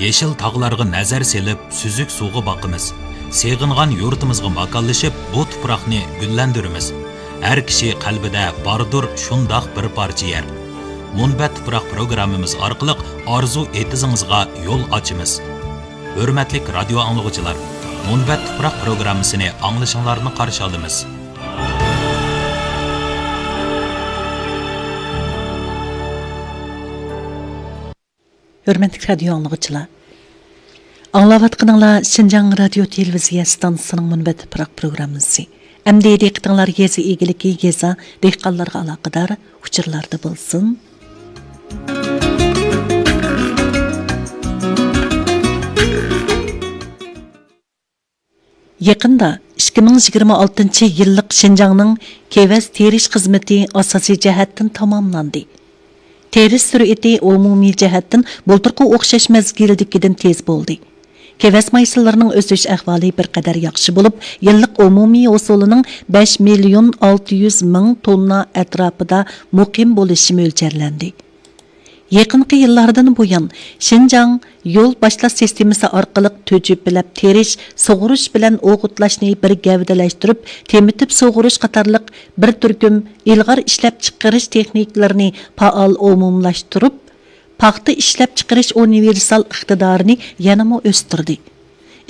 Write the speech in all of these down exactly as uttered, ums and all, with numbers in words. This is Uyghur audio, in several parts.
يېشىل تاغلارغا نەزەر سېلىپ، سۈزۈك سۇغا باقىمىز. سېغىنغان يۇرتىمىزغا ماكانلىشىپ، بۇ تۇپراقنى گۈللەندۈرىمىز. ھەر كىشى قەلبىدە باردۇر شۇنداق بىر پارچە يەر. مۇنبەت تۇپراق پروگراممىمىز ئارقىلىق ئارزۇ ئېتىزىڭىزغا يول ئاچىمىز. ھۆرمەتلىك رادىيو ئاڭلىغۇچىلار، مۇنبەت تۇپراق پروگراممىسىنى ئاڭلىشىڭلارنى قارشى ئالىمىز. ھۆرمەتلىك رادىيو ئاڭلىغۇچىلار، ئاڭلاۋاتقىنىڭلار شىنجاڭ رادىيو تېلېۋىزىيە ئىستانسىسىنىڭ مۇنبەت تۇپراق پروگراممىسى. ئەمدى دىققىتىڭلار يېزا ئىگىلىكى، يېزا، دېھقانلارغا ئالاقىدار ئۇچۇرلاردا بولسۇن. يېقىندا ئىككى مىڭ يىگىرمە ئالتىنچى يىللىق شىنجاڭنىڭ كېۋەز تېرىش خىزمىتى ئاساسىي جەھەتتىن تاماملاندى. تېرىش سۈرئىتى ئومۇمىي جەھەتتىن بۇلتۇرقى ئوخشاش مەزگىلدىكىدىن تېز بولدى. كېۋەز مايسىلىرىنىڭ ئۆسۈش ئەھۋالى بىر قەدەر ياخشى بولۇپ، يىللىق ئومۇمىي ھوسۇلىنىڭ بەش مىليون ئالتە يۈز مىڭ توننا ئەتراپىدا مۇقىم بولۇشى مۆلچەرلەندى. يېقىنقى يىللاردىن بۇيان، شىنجاڭ يول باشلاش سىستېمىسى ئارقىلىق تۆجۈپىلەپ تېرىش، سۇغۇرۇش بىلەن ئوغۇتلاشنى بىر گەۋدىلەشتۈرۈپ، تېمىتىپ سۇغۇرۇش قاتارلىق بىر تۈركۈم ئىلغار ئىشلەپچىقىرىش تېخنىكىلىرىنى پائال ئومۇملاشتۇرۇپ، پاختا ئىشلەپچىقىرىش ئۇنىۋېرسال ئىقتىدارىنى يەنىمۇ ئۆستۈردى.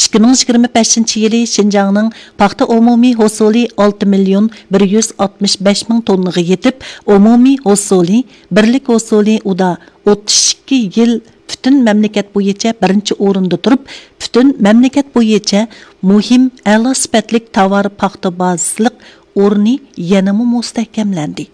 ئىككى مىڭ يىگىرمە بەشىنچى يىلى شىنجاڭنىڭ پاختا ئومۇمىي ھوسۇلى ئالتە مىليون بىر يۈز ئاتمىش بەش مىڭ توننىغا يېتىپ، ئومۇمىي ھوسۇلى، بىرلىك ھوسۇلى ئۇدا ئوتتۇز ئىككى يىل پۈتۈن مەملىكەت بويىچە بىرىنچى ئورۇندا تۇرۇپ، پۈتۈن مەملىكەت بويىچە مۇھىم ئەلا سۈپەتلىك تاۋار پاختا بازىسىلىق ئورنى يەنىمۇ مۇستەھكەملەندى.